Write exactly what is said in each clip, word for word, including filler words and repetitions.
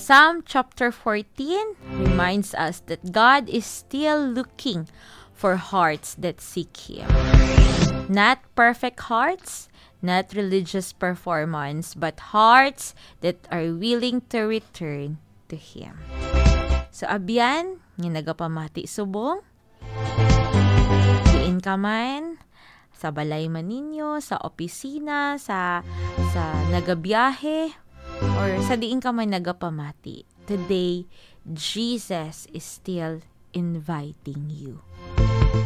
Psalm chapter fourteen reminds us that God is still looking for hearts that seek Him. Not perfect hearts, not religious performance, but hearts that are willing to return to Him. So, abyan, nga nagapamati subong, diin ka man, sa balay man ninyo, sa opisina, sa, sa nagabiyahe, or sa diin ka man nagapamati, today, Jesus is still inviting you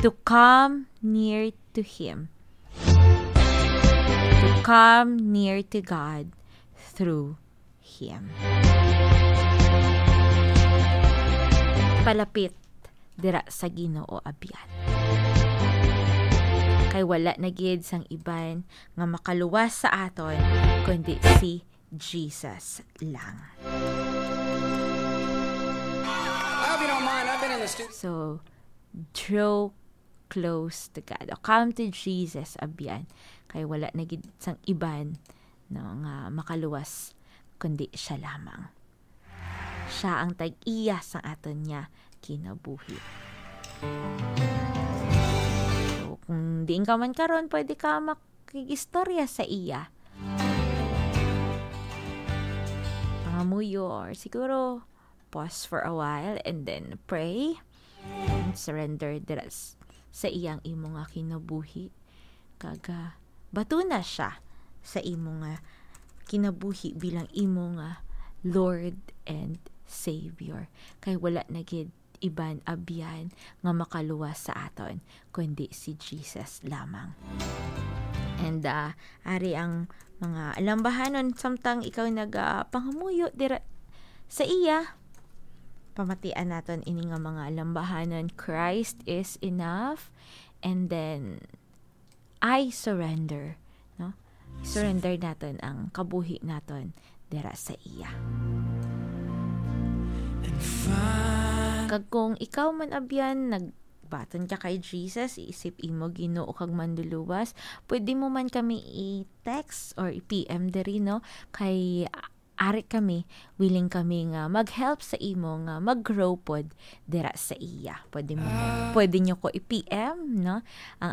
to come near to Him, to come near to God through Him. Palapit dira sa Ginoo, abyan. Kay wala na gid sang iban nga makaluwas sa aton, kundi si Jesus lang. I hope you don't mind. I've been in the studio. So, draw close to God. O, come to Jesus, abyan. Kay wala na gid sang iban, no, nga makaluwas, kundi siya lamang. Siya ang tag-iya sang aton nga kinabuhi. So, kung diin ka man karon, pwede ka makig-istorya sa iya. Pangamuyo, or siguro, pause for a while and then pray. And surrender dira s-, sa iyang imo nga kinabuhi. Kag, ah, batuna siya sa imo nga kinabuhi bilang imo nga Lord and Savior. Kay wala na gid iban, abyan, nga makaluwas sa aton, kundi si Jesus lamang. And, ah, ari ang mga alambahanon samtang ikaw nagapangamuyo dira sa iya. Pamatian naton ini nga mga alambahanon, Christ is enough. And then, I surrender, no? Surrender naton ang kabuhi naton dira sa iya. Kag kung ikaw man, abyan, nagbaton ka kay Jesus, isip imo Ginoo kag Manluluwas, pwede mo man kami i-text or i-P M diri, no? Kay, ah, ari kami, willing kami nga mag-help sa imo nga mag-grow pod dira sa iya. Pwede mo, pwede nyo ko i-P M, no?